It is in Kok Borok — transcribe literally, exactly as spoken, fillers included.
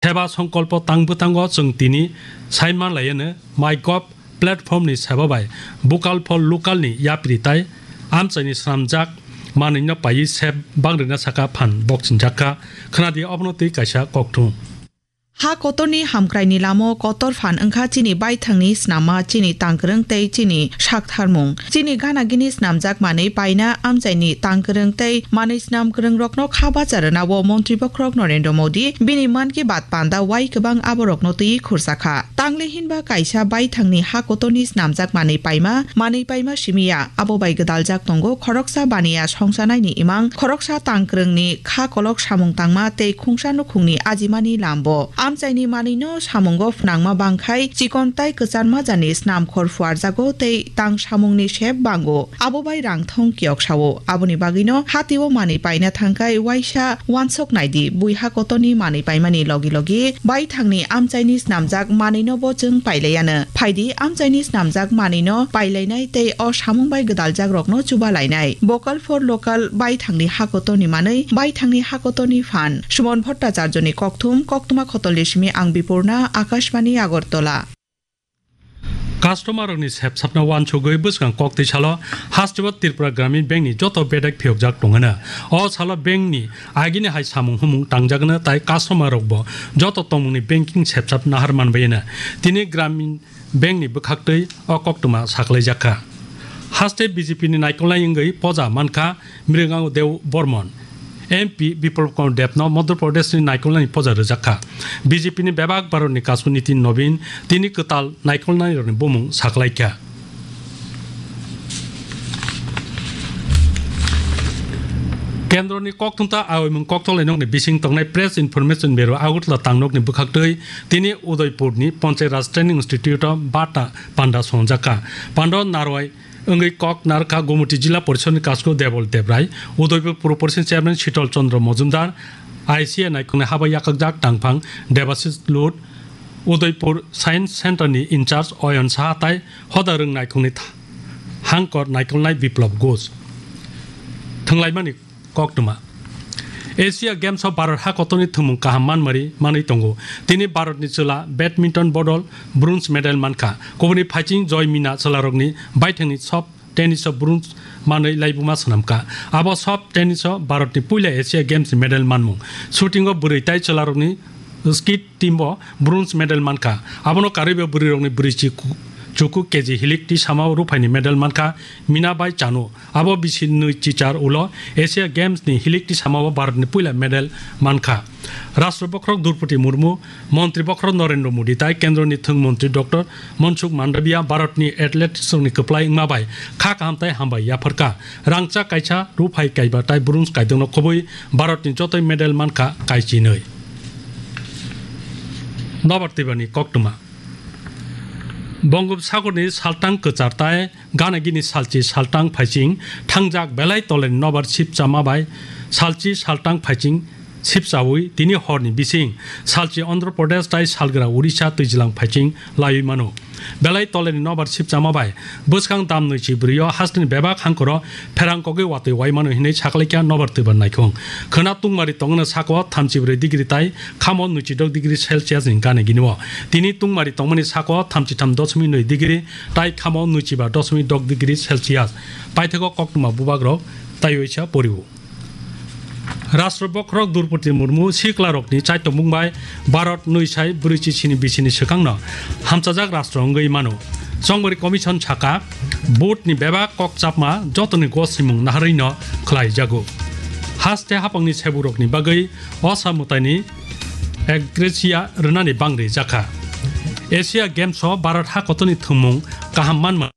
Seba songkolpo tang bwtango chwng tini sai manlaiano MyGov platform ni seba bai Vocal for Local ni yapri tai amchaini swnamjak manwino paiwi sep bangrwina saka phan bokchingjak kha. Khwnadi obono twi kaisa kokthum. Ha kotorni hamkraini lamo kotor phan wngkha chini baithangni snamma, chini tangkwrwng tei chini saktharmung. Chini gana gini snamjak manwi paina amchaini tangkwrwng tei manwi snam kwrwngrokno kha bacha rwnao Montri Bokhorok Narendra Modi bini Mann Ki Baat panda wai kwbang aborokno twi khursa kha. Tangli hinba kaisa baithangni ha kotorni snamjak manwi paima, manwi paima simi ya, abo bai gwdaljak tongo khoroksa baniya songchanaini imang, khoroksa tangkwrwngni kha kolok samung tangma tei khungsa nukhungni ajimani lambo. Amchaini manwino samungo phnangma bangkhai chikon tai kwcharma jani snamkhor phuarjago tei tang samungni sep bango. Abo bai rang thong kiyok sao. Aboni bagwino hatio manwi paina thangkhai waisa wansok naidi, bui ha kotorni manwi paimani logi logi baithangni amchaini snamjak manwino bo chwng pailaiano. Phaidi amchaini snamjak manwino pailainai tei o samung bai gwdaljakrokno chubalainai. Vocal for Local baithangni ha kotorni manwi, baithangni ha kotorni phan. Suman Bhattacharjoni kokthum, koktwma khotolni simi ang Bipurna, Akashbani Agartala. Customer rokni sepsapna wansugwi bwskang koktwi salo hasteo Tripura Gramin Bank ni joto bedek phiyokjak tongano. O salo bank ni agini hai samung humung tangjagano tai customer rokbo joto tongmungni banking sepsap nahar manbayano. Tini Gramin Bank ni bwkhaktwi o koktwma saklaijak kha. Haste B J P ni naikolnai wngwi poja mankha Mringango Deo Bormon. M P Biplab Kumar Debno Madhya Pradesh ni naikolnani poja rwjak kha. B J P ni bebak Bharat ni kasku Nitin Nobin tini kwtal naikolnai rokni bumung saklai kha. Kendro ni kokthumta aoimung koktwlai nokni bising tongnai Press Information Bureau Agartala tangnokni bwkhaktwi tini Udaipur ni Panchayat Raj Training Institute o bata panda swngjak kha. Panda narwai wngwi kok narwkha Gumoti Jila Porishod ni kasku Debol Debrai, Udaipur Puro Porishod ni Chairman Shitol Chandra Majumdar, I C A naikolnai haba yakakjak tangphang Debashis Lut, Udaipur Science Center ni in charge Oyon Saha tai hoda rwng naikolni tha-, hangkor naikolnai Biplab Ghosh. Thwnglaimani koktwma. Asia Games o Bharat ha kotorni thwngmung kaham manmari manwi tongo. Tini Bharat ni chwla badminton bodol bronze medal mankha. Kubuni phaiching Joy Mina chwlarokni baithangni soft tennis o bronze manwi laibuma swnamkha. Abo soft tennis o Bharat ni puila Asia Games ni medal manmung. Shooting o bwrwi tai chwlarokni skeet team bo bronze medal mankha. Abono karwibo bwrwirokni bwrwi chi ku-, chuku K G hilik tisama o ruphaini medal mankha Mina bai Chanu. Abo bisi nwi chichar ulo Asia Games ni hilik tisamao Bharat ni puila medal mankha. Rashtra Bokhorok Droupadi Murmu, Montri Bokhorok Narendra Modi tai Kendro ni Thwng Montri Doctor Mansukh Mandaviya Bharat ni athletics rokni kwplai wngma bai kha kaham tai hambai yapharkha. Rangchak kaisa, ruphai kaiba tai bronze kaidokno khobwi Bharat ni jotoi medal mankha kaichinwi. Nobar twibani koktwma. Bongopsagorni saltang kwchar tai gana gini salchi saltang phaiching thangjak belai toleni nobar sipchama bai salchi saltang phaiching sipchaui tini horni bising salchi Andhra Pradesh tai salgra Odisha twijlang phaiching laiwi mano. Belai toleni nobar sipchama bai bwskang dam nwi chi bwrwi o hasteni bebak hangkoro pherang kogwi watwi wai mano hinwi saklaikha nobar twibar naikhung. Khwna tungmari tongno sako thamchi brwi degree tai khamo nwichidok degree Celsius ni gana gini o. Tini tungmari tongmani sako thamchi tham doshmik nwi degree tai khamo nwichiba doshmik dok degree Celsius. Paithago koktwma bubagrok taiwi sa porio. Rashtra Bokhorok Droupadi Murmu siklarokni chaitokmung bai Bharat nwi sai brwi chi sini bisini swkangno hamchajak rashtra wngwi mano. Chongmari Commission saka, vote ni bebak kok chapma jotoni gosrimung naharwino khlaijago. Haste hapangni seburokni bagwi osa mwtaini Ek Gracia rwnani bangri jakha. Asia Games o Bharat ha kotorni thwngmung kaham manma